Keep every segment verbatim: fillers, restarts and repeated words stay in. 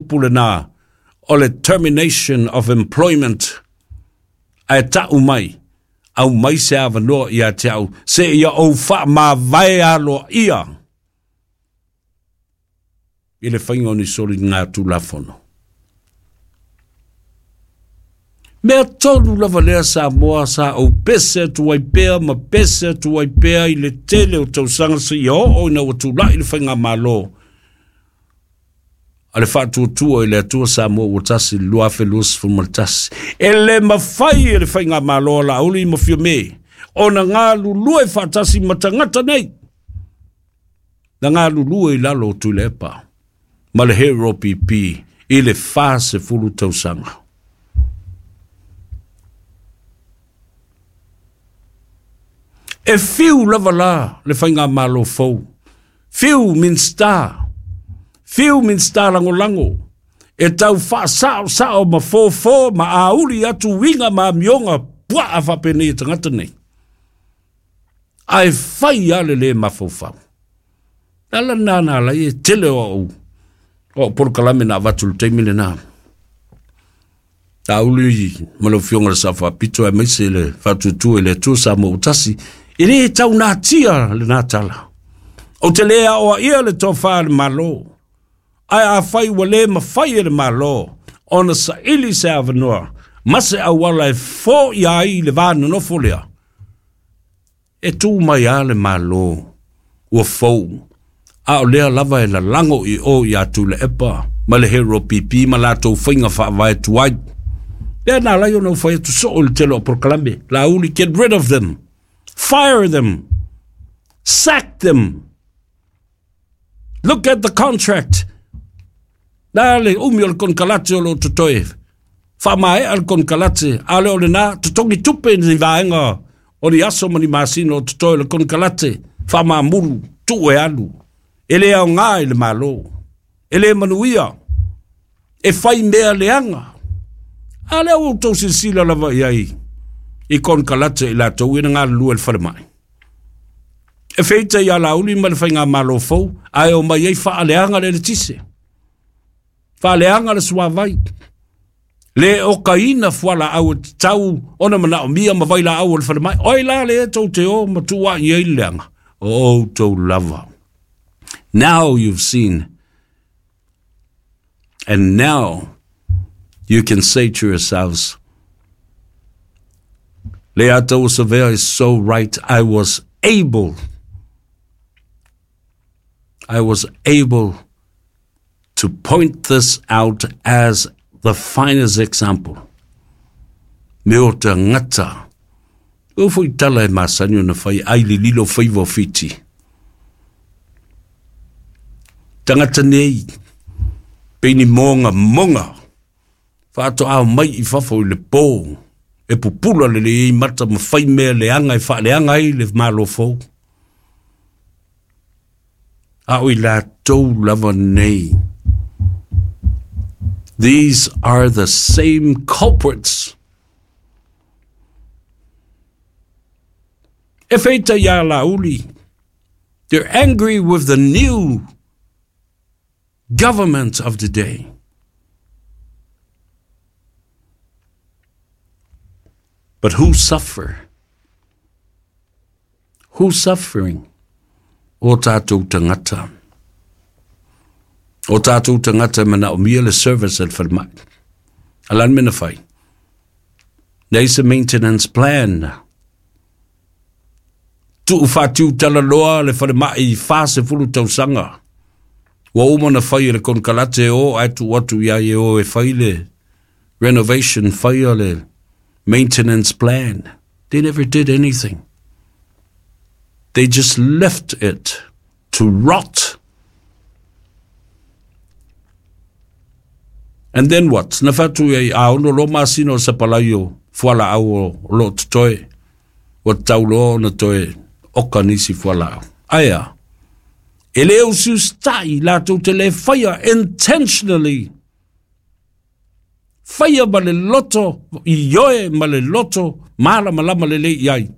upu lena o le termination of employment. Ae ta'u mai, aumai se avanoa ia te au, seia ou faamavae aloaia i le faiga o ni soliga tulafono. Mea tolu lava lea Samoa sa ou pese atu ai pea ma pese atu ai pea i le tele o tausaga seia oo ina ua tula'i le faigamālō a le Faatuatua i le Atua Samoa ua tasi le lua afe luasefulu ma le tasi. E le mafai e le faigamālō a Laauli ma Fiame ona galulue faatasi ma tagata nei na galulue i lalo o Tuilaepa ma le Hero P P i le fasefulu tausaga. E fiu lava la le faigamālō fou, fiu Minista, fiu Minista lagolago, e tau faasa'osa'o ma fofo ma auli atu uiga ma amioga puaa faapenei e tagata nei. Ae fai a le lē mafaufau. Le ala lena na alai e tele o a'u o a'u polokalame na avatu le taimi lenā. Tauli ma lau Afioga le Sao Faapito aemaise le Faatuatua i le Atua Samoa ua tasi, e lē taunatia lenā tala. Ou te lē aoaia le tofā le Mālō, ae afai ua lē mafai e le Mālō ona saili se avanoa ma se auala e foʻia ai le vanonofo lea, e tū mai a le Mālō ua fou, a o lea lava e lalago i o iā Tuilaepa ma le Hero P P ma latou faiga faavae tuai. Lea na alai ona ou fai atu soo i le tele o polokalame. Laauli, get rid of them. Fire them. Sack them. Look at the contract. Na le umi o le konekarate o lo o totoe. Faamaea le konekarate, a le o lenā, totogi tupe ni vaega o ni aso ma ni masina o totoe o le konekarate, faamamulu, tuu e alu. E le aogā i le Mālō. E le manuia. E fai mea leaga. A lea ua outou silasila lava i ai i konekarate i latou ina galulue le falemai. E feita iā Laauli ma le faigamālō fou, ae o mai ai faaleaga le eletise, faaleaga le suavai, le okaina fualaau e tatau ona manaomia ma vailaau o le falemai. O ai la lea tou te o ma tuuaʻi ai le leaga? O outou lava. Now you've seen, and now you can say to yourselves, Leiatauasave'a is so right. I was able, I was able to point this out as the finest example. Me o tagata. O foi tala e masani ona fai ai le lilo faiva o Fiti. Tagata nei, pei ni moga moga, faatoa mai i fafo i le pō, e pupula le lelei mata ma fai mea leaga e faaleaga ai le Mālō fou. A o i latou lava nei. These are the same culprits. E feita iā Laauli. They're angry with the new government of the day. But who suffer? Who's suffering? O tātou tagata. O tātou tagata e manaomia le service a le falemai. A le a le mea na fai? Leai se maintenance plan. Tuu fatiu talaloa le falemai i fasefulu tausaga. Ua uma ona fai e le konekarate e o ae tuu atu iā ia e o e fai le renovation, faia le maintenance plan. They never did anything. They just left it to rot. And then what? Na fatu ai a ono loa masina o sapalai o fualaau o lo o totoe. Ua tatau loa ona toe oka nisi fualaau. Ae a? E le usiusitai latou te le faia intentionally. Faia ma le loto ioe ma le loto malamalama lelei i ai.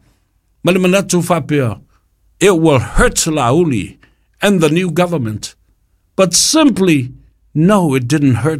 Ma le manatu faapea, it will hurt Laauli and the new government. But simply, no, it didn't hurt